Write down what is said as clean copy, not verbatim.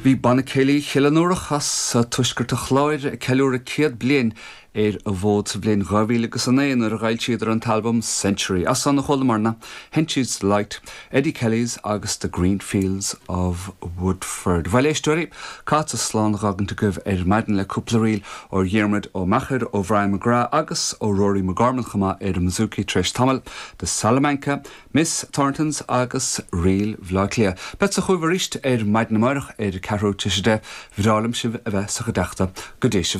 Bhí Banna Céilí Chill an Iúrach as tuaisceart an Chláir ag ceiliúradh 100 bliain ar an bhfód sa bhliain 2009 nuair a dh'fhoilsíodar an t-albam Century. As san a chualamarna Henchys Delight, Eddie Kelly's agus The Green Fields of Woodford. Bhuel, éisteoirí, caithfeadsa slán a dh'fhágaint agaibh ar maidin le cúpla ríl ó Dhiarmuid Ó Meachair, ó Bhrian McGrath agus ó Rory McGorman chomh maith ar an mbouzouki tar éis tamaill, The Salamanca, Miss Thornton's agus Ríl Bhaile Átha Cliath. Beadsa chugaibh arís ar maidin amáireach ar a ceathrú tar éis 10. Bhreá liom sibh a bheith sa chuideachta. Go dté sibh slán.